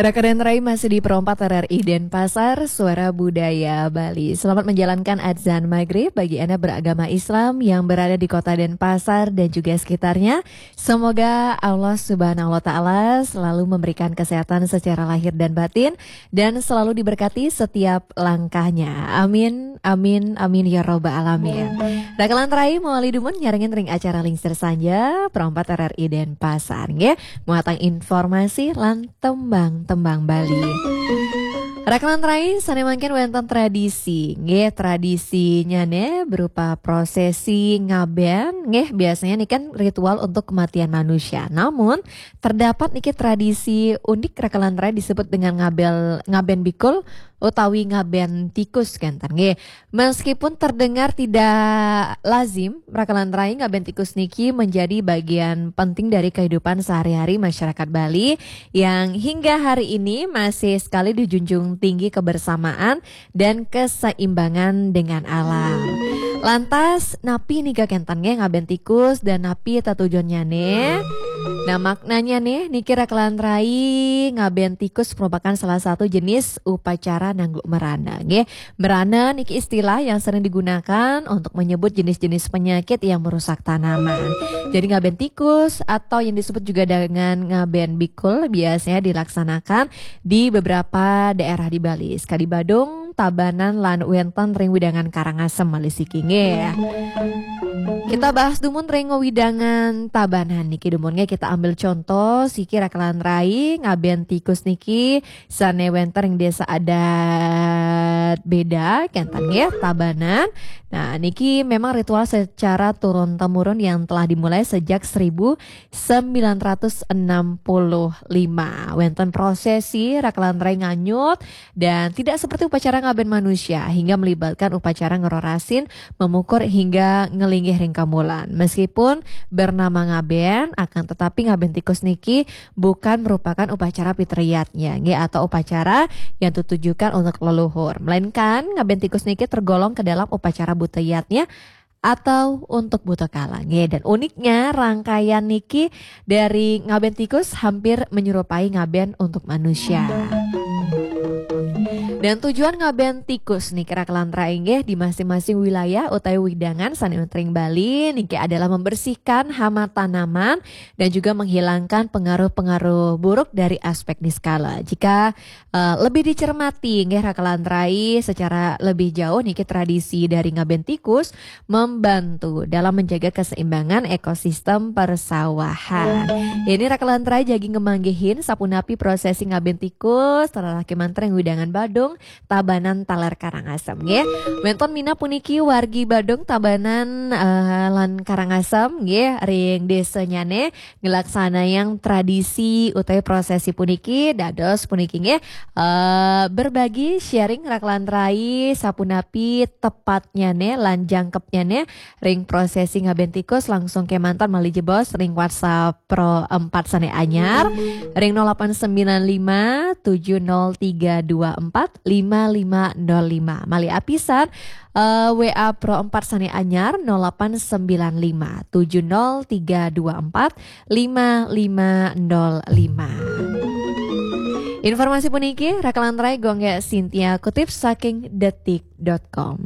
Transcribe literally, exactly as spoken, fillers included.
Raka dan Rai masih di Pro empat R R I Denpasar, Suara Budaya Bali. Selamat menjalankan azan maghrib bagi Anda beragama Islam yang berada di kota Denpasar dan juga sekitarnya. Semoga Allah Subhanahu wa Ta'ala selalu memberikan kesehatan secara lahir dan batin dan selalu diberkati setiap langkahnya. Amin, amin, amin ya robbal alamin. Raka lan Rai, mawali dumun nyarengin ring acara Lingsir Sanja, Pro empat R R I Denpasar, nggih. Muatan informasi lan tembang-tembang Bali. Raka lan Rai, sane mangkin wenten tradisi, nggih, tradisinya ne berupa prosesi ngaben, nggih, biasanya ini kan ritual untuk kematian manusia. Namun, terdapat niki tradisi unik Raka lan Rai disebut dengan ngabel, ngaben bikul utawi ngaben tikus kenten, nggih. Meskipun terdengar tidak lazim, Raka lan Rai, ngaben tikus niki menjadi bagian penting dari kehidupan sehari-hari masyarakat Bali yang hingga hari ini masih sekali dijunjung tinggi kebersamaan dan keseimbangan dengan alam. Lantas, napi nika kenten, nggih, ngaben tikus dan napi tetujonnya ne? Nah, maknanya ne, niki Raka lan Rai, ngaben tikus merupakan salah satu jenis upacara nanggu merana, nggih. Merana niki istilah yang sering digunakan untuk menyebut jenis-jenis penyakit yang merusak tanaman. Jadi, ngaben tikus atau yang disebut juga dengan ngaben bikul biasanya dilaksanakan di beberapa daerah di Bali. Sekadi Badung, Tabanan, lan wenten ring wewidangan Karangasem malih siki, nggih. Kita bahas dumun ring wewidangan Tabanan niki dumun, nggih. Kita ambil contoh siki Raka lan Rai, ngaben tikus niki sane wenten ring desa adat Beda kenten, nggih, Tabanan. Nah, niki memang ritual secara turun temurun yang telah dimulai sejak seribu sembilan ratus enam puluh lima. Wenten prosesi Raka lan Rai nganyut dan tidak seperti upacara ngaben manusia hingga melibatkan upacara ngerorasin, memukur hingga ngelinggih ring kamulan. Meskipun bernama ngaben, akan tetapi ngaben tikus niki bukan merupakan upacara pitriyatnya, nggih, atau upacara yang ditujukan untuk leluhur. Melainkan, ngaben tikus niki tergolong ke dalam upacara buteyatnya atau untuk buta kala, nggih. Dan uniknya, rangkaian niki dari ngaben tikus hampir menyerupai ngaben untuk manusia. Dan tujuan ngaben tikus niki Raka lan Rai, nggih, di masing-masing wilayah utawi wewidangan sane wenten ring Bali niki adalah membersihkan hama tanaman dan juga menghilangkan pengaruh-pengaruh buruk dari aspek niskala. Jika eh, lebih dicermati, nggih, Raka lan Rai, secara lebih jauh niki tradisi dari ngaben tikus membantu dalam menjaga keseimbangan ekosistem persawahan. Ini Raka lan Rai jagi ngemanggihin sapunapi prosesi ngaben tikus, terarah kemanten ring wewidangan Badung, Tabanan, taler Karangasem, nggih. Wenten minab puniki wargi Badung, Tabanan, eh, lan Karangasem, nggih, ring desanyane nglaksanayang tradisi utawi prosesi puniki. Dados puniki, nggih, eh, berbagi, sharing Raka lan Rai sapunapi tepatnyane lan jangkepnyane ring prosesi ngaben tikus. Langsung kemanten malih jebos ring WhatsApp Pro empat sane anyar ring nol delapan sembilan lima tujuh nol tiga dua empat lima lima nol lima. Malih apisan, eh, W A Pro empat sane anyar nol delapan sembilan lima tujuh nol tiga dua empat lima lima nol lima. Informasi puniki Raka lan Rai, Gung Gek Sintia, kutip saking detik dot com.